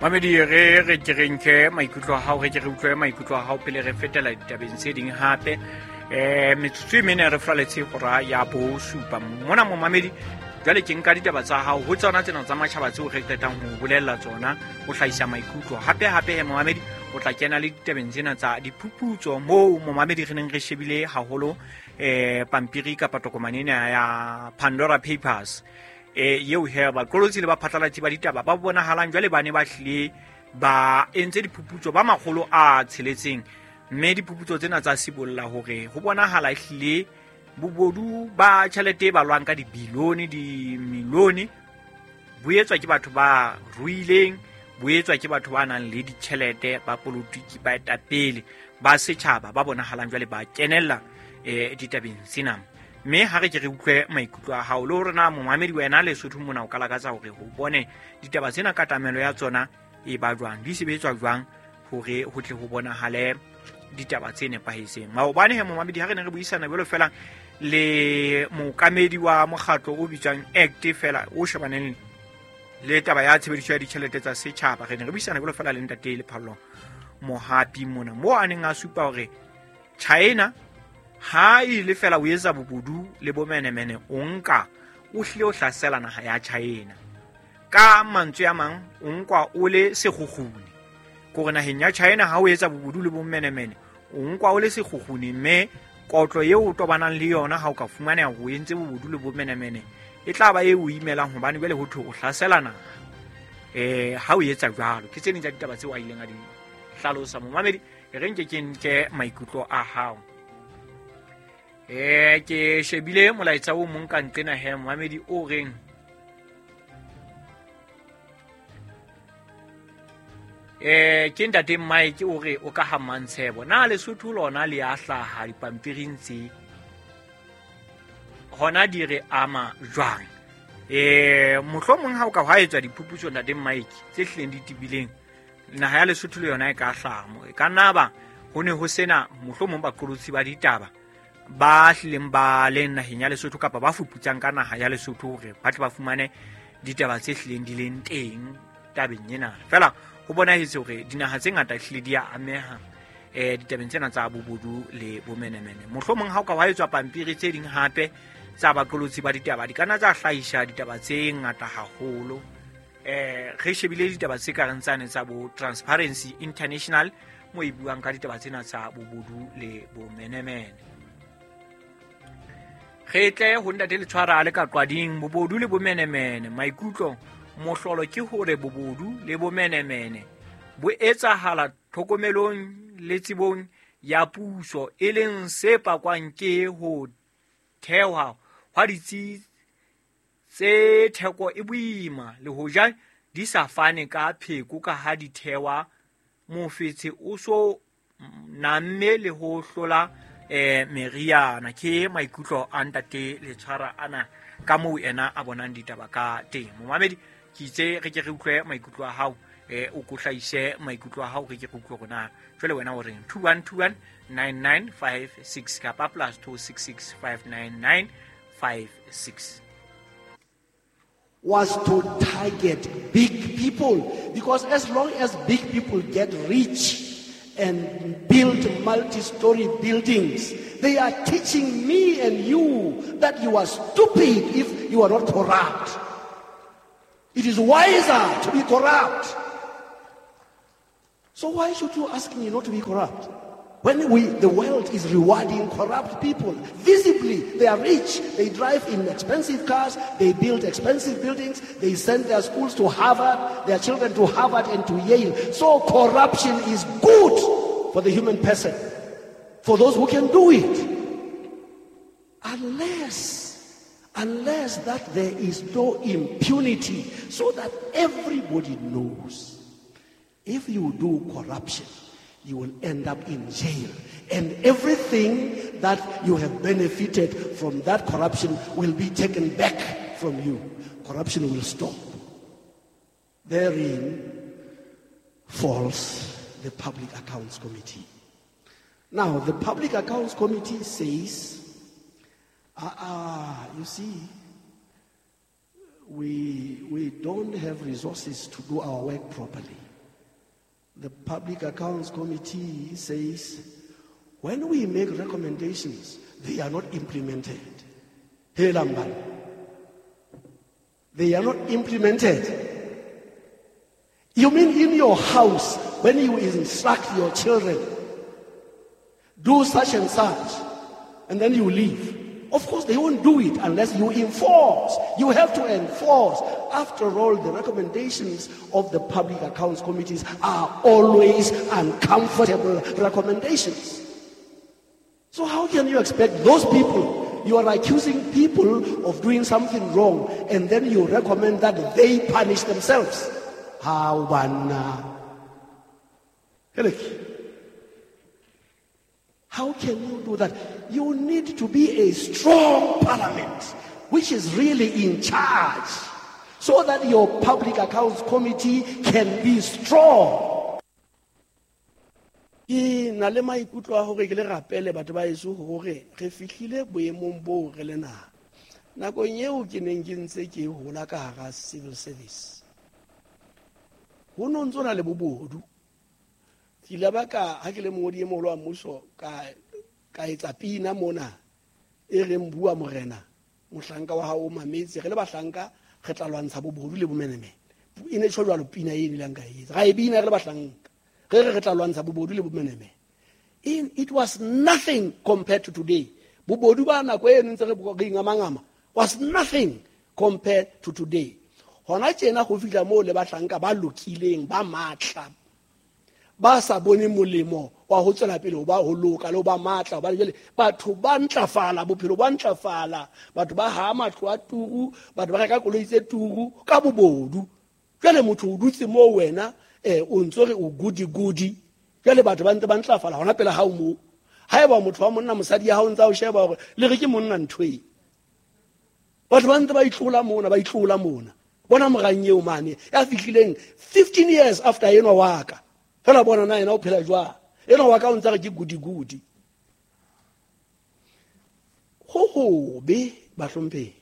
Mamedi, re ke re nke maikutlo a hao, re ke re utlwe maikutlo a hao pele re fetela ditabeng tse ding hape. Metsotso e mene re flaletse hora ya 7. Mona momamedi, jwale ke nka ditaba tsa hao ho tsona tsena tsa matjhaba tseo re qetang ho bolella tsona, ho hlahisa maikutlo. Hape hape he momamedi, o tla kena le ditabeng tsena tsa diphuputso moo momamedi re neng re shebile haholo pampiri kapa tokomane ena ya Pandora Papers. Eo he baqolotsi le baphatlalatsi ba ditaba ba bonahalang jwale ba ne ba hlile ba entse diphuputso ba 600, mme diphuputso tsena tsa sibolla hore ho bonahala ehlile bobodu ba tjhelete e balwang ka dibilione, dimilione, bo etswa ke batho ba ruileng, bo etswa ke batho ba nang le ditjhelete, ba politiki, baetapele ba setjhaba ba bonahalang jwale ba kenella ditabeng tsena. Mme ha re ke re utlwe maikutlo a hao le hore na momamedi wena Lesotho mona o ka lakatsa hore ho bone ditaba tsena katamelo ya tsona e ba jwang, di sebetswa jwang hore ho tle ho bonahale ditaba tse nepahetseng. Maobane he momamedi ha re ne re buisana jwalo fela le mookamedi wa mokgatlo o bitswang ACT fela o shebaneng le taba ya tshebediso ya ditjhelete tsa setjhaba, re ne re buisana jwalo fela le ntate Lephallo Mohapi mona, moo a neng a supa hore China ha e le fela o etsa bobodu le bomenemene, o nka o hlile o hlasela naha ya China. Ka mantswe a mang, o nkwa o le sekgukguni. Kore naheng ya China ha o etsa bobodu le bomenemene, o nkwa o le sekgukguni, mme kotlo eo o tobanang le yona ha o ka fumaneha o entse bobodu le bomenemene e tla ba e o imelang, hobane jwale ho thwe o hlasela naha. Ha o etsa jwalo, ke tse ding tsa ditaba tseo a ileng a di hlalosa. Momamedi, e re nke ke nke maikutlo a hao. Ke shebile molaetsa o mong ka nqena he momamedi o reng, ke ntate Mike o re o ka ha Mantshebo, na Lesotho lona le a hlaha dipampiring tse hona di re ama jwang? Mohlomong ha o ka hwa etswa diphuputso ntate Mike tse hlileng di tibileng, naha ya Lesotho le yona e ka hlaha mo. E ka nna ba ho ne ho sena mohlomong baqolotsi ba ditaba ba hlileng ba leng naheng ya Lesotho kapa ba fuputsang ka naha ya Lesotho hore ba tle ba fumane ditaba tse hlileng di leng teng tabeng ena. Fela ho bonahetse hore dinaha tse ngata hlile di a ameha ditabeng tsena tsa bobodu le bomenemene. Mohlomong ha o ka hwa etswa pampiri tse ding hape tsa baqolotsi ba ditaba, di ka nna tsa hlahisa ditaba tse ngata haholo. Re shebile ditaba tse kareng tsane tsa bo Transparency International mo e buang ka ditaba tsena tsa bobodu le bomenemene. Re tle ho ntate Letshwara a le ka Qwading, bobodu le bomenemene. Maikutlo mohlolo ke hore bobodu le bomenemene bo etsahala tlhokomelong le tsebong ya puso, e leng se pakwang ke ho theha hwa ditsi tse theko e boima, le hoja di sa fane ka pheko ka ha di thewa mofetshe o so namme le ho hlola meriana. Ke maikutlo a ntate Letshwara ana ka moo ena a bonang ditaba ka teng. Momamedi, ke itse re ke re utlwe maikutlo a hao, o ko hlahise maikutlo a hao, re ke re utlwe hore na jwale wena o reng. 2121 9956 kapa plus 266 599 56. Was to target big people, because as long as big people get rich and build multi-story buildings, they are teaching me and you that you are stupid if you are not corrupt. It is wiser to be corrupt. So why should you ask me not to be corrupt? When the world is rewarding corrupt people, visibly they are rich, they drive in expensive cars, they build expensive buildings, they send their schools to Harvard, their children to Harvard and to Yale. So corruption is good for the human person, for those who can do it. Unless that there is no impunity, so that everybody knows if you do corruption, you will end up in jail. And everything that you have benefited from that corruption will be taken back from you. Corruption will stop. Therein falls the Public Accounts Committee. Now, the Public Accounts Committee says, you see, we don't have resources to do our work properly. The Public Accounts Committee says, when we make recommendations, they are not implemented. Hey, Lamban. They are not implemented. You mean in your house, when you instruct your children, do such and such, and then you leave. Of course, they won't do it unless you enforce. You have to enforce. After all, the recommendations of the Public Accounts Committees are always uncomfortable recommendations. So how can you expect those people? You are accusing people of doing something wrong, and then you recommend that they punish themselves. How banna? How can you do that? You need to be a strong parliament, which is really in charge, so that your Public Accounts Committee can be strong. Ke na le maikutlo a hore ke le rapele batho ba heso hore re fihlile boemong boo re le naha. Nakong eo ke neng ke ntse ke hola ka hara civil service, ho no ntso na le bobodu. Ke ile ba ka ha ke le mongodi e moholo wa mmuso ka etsa pina mona e reng bua morena mohlanka wa hao o mametse, re le bahlanka re tla lwantsha bobodu le bomenemene. E ne tjho jwalo pina e nileng ka etsa, ra e bina re le bahlanka, re re re tla lwantsha bobodu le bomenemene. It was nothing compared to today. Bobodu ba nako e ntse re ingamangama was nothing compared to today. Hona tjena go fihla moo le bahlanka ba lokileng ba matla ba sa bone molemo wa ho tswela pele ho ba ho loka le ho ba matla, hobane jwale batho ba ntlafala, bophelo ba ntlafala, batho ba ha matlo a turu, batho ba reka koloi tse turu ka bobodu. Jwale motho o dutse moo wena o ntso re o gudi gudi, jwale batho ba ntse ba ntlafala hona pele ha o moo. Haeba motho wa monna mosadi ya hao ntsa o sheba hore le re ke monna ntho e, batho ba ntse ba itlola mona, ba itlola mona. Bona morang eo mane ya fihlileng 15 years after enwa wa ka, fela bona na yena o phela jwang, enwa wa ka o ntse re ke gudi gudi. Ho hobe bahlomphehi,